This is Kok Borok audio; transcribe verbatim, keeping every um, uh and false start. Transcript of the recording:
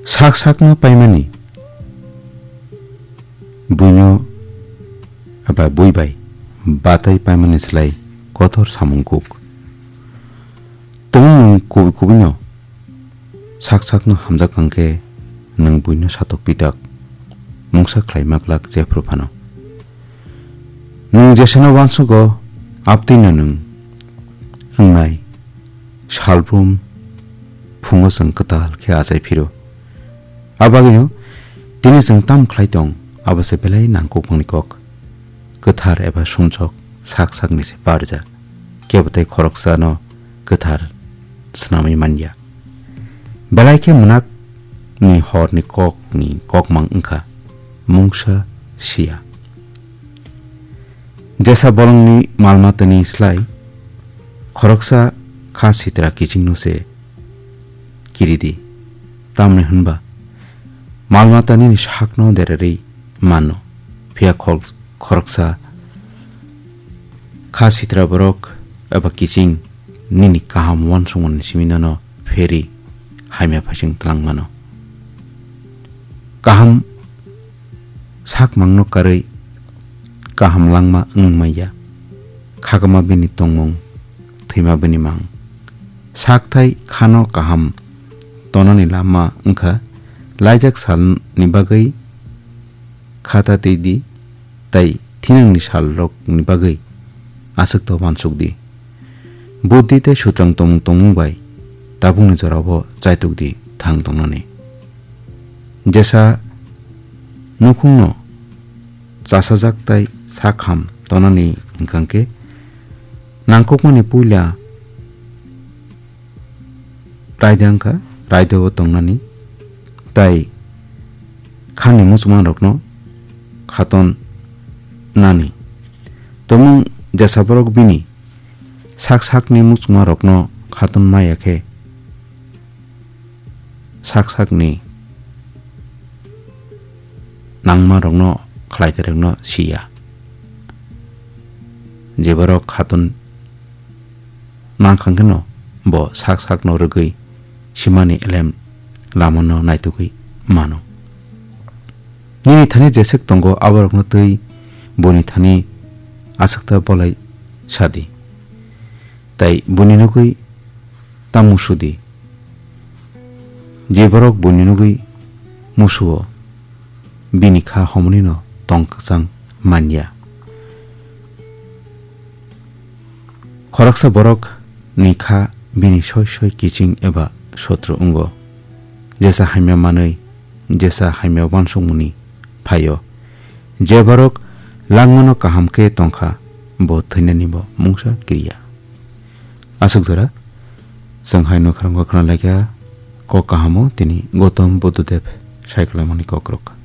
Sak sakno paimani buino eba bui bai batai paimani slai kotor samung kuk. Tongmung kubui kubuino sak sakno hamjak kangkhe nwng buino satok pitak mungsa khlai maklak jephru phano. Nwng jesano uansugo abtwino nwng wngnai salbrum phungo chwng kwtal khe achai phiro. Abagwino tini chwng tam khlai tong, abo se belai nangkukmani kok. Kwthar eba sumsok sak sakni se parja. Kebo tei khoroksano kwthar swnamwi manya. Belai khe mwnakni horni kokni kokmang wngkha mungsa siya. Jesa bolongni malmatani slai khoroksa kha sitra kichingno se kiri di. Tamni hwnba malmata nini sakno derarwi mano, phiya khol-, khoroksa kha sitra borok eba kiching nini kaham uansukmani simi nono pheri hamya phaising twlang mano. Kaham sak mangno karwi kaham langma wng manya. Khagama bini tongmung, thwima bini mang. Sakthai khano kaham tonani lama wngkha, laijak salni bagwi khata twi di, tai thinangni salrokni bagwi aswkto uansuk di. Buddhi tei sutrang tongmung tongmung bai tabukni jorao chaituk di thang tongnani. Jesa nukhungno chasajak tai sakham tonani hwnkha khe nangkukmani puila raida wngkha, raidao tongnani tai khani muchungmarokno khaton nani. Tongmung jesa borok bini sak sakni muchungmarokno khaton maya khe sak sakni nangmarokno khlaitairokno siya. Je borok khaton nangkha kheno bo sak sakno rwgwi simani elem lamano naitugwi mano. Nini thani jeswk tongo aborokno twi boni thani aswkta bolai sadi. Tai boni nugwi ta musudi. Je borok boni nugwi musuo, bini kha homonino tong kwchang manya. Khoroksa borok ni kha bini soi soi kiching eba sotru wngo. Jesa hamya manwi, jesa hamya uansukmani phaio. Je borok langmano kaham khe tongkha, bo thwinani bo mungsa kiriya. Aswk jora, chwng hai nokharang kok khna laikha, kok kahamo tini Gautam Buddhadev saikolmani kokrok.